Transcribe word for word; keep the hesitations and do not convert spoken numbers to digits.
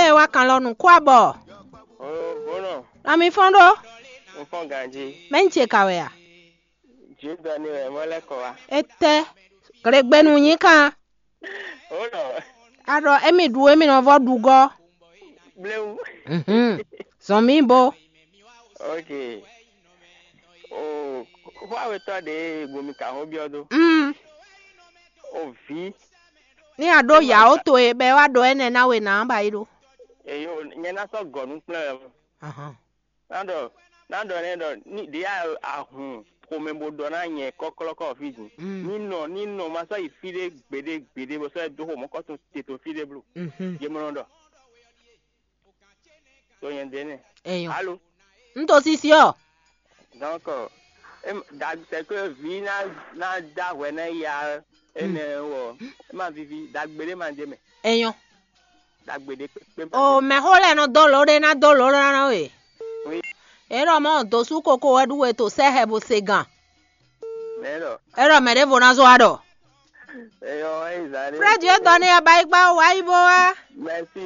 Ɛ wá kan lɔ nǔ kó abɔ. Oo, bónɔ, Ami fɔ́n ɖó. Un fɔ́n ganjí. Mɛ ń ce ka wɛ a? Jǐdɔ ni wɛ mɔ lɛ́ kɔ wá. Etɛ. Glegbenu nyi kan. Bónɔ, A ɖɔ émi ɖu émi nɔ vɔ ɖu gɔ. Bléwu. Mhm. Zɔn mi bo. Ok. Oo, xó awetɔ ɖe gomi ka xó byɔ́ dó. Mm. O vi. Ní a ɖó yǎ ó to e bɛ wá ɖɔ énɛ́ ná we ná ba yi ɖó. Eyo, nyɛ ná sɔ́ gɔ̌ nú kplɔ́n wɛ. Ahan. Ná ɖɔ, ná ɖɔ nɛ ɖɔ ní ɖě a- ahun xomɛ bó ɖɔ ná nyɛ kɔklɔ́kɔ fí din. Mm. Ní nɔ, ní nɔ ma sɔ́ yi fí ɖé gbeɖé gbeɖé bó sɔ́ yi dó xo mɔ̌kɔtɔn te to fí ɖé bló. Mhm. Yě mɔ nɔ ɖɔ. To nyɛ ɖě nɛ. Eyo. Alo. N to sisi ɔ. Donc, em, da c'est que vi ná ná da hwɛ ná ya énɛ́ wɔ. É ma vivi dagbe ɖé ma ɖe mɛ. Eyo. Dagbe ɖé kpékpé ma O ɖe. Mɛxó lɛ́ɛ nɔ dó lǒ ɖé ná dó lǒ ná ná we. Oui. É ɖɔ mɔ dǒsú koko wɛ ɖu we to sɛ́ hɛ bo se gan. Mɛ ɖɔ. É ɖɔ mɛ ɖěvo ná zó wa ɖɔ. Eyɔ, eyi zan ɖé. Frɛ́di e dɔ ní ɛ ba yi kpá wá yi bó wá. Merci.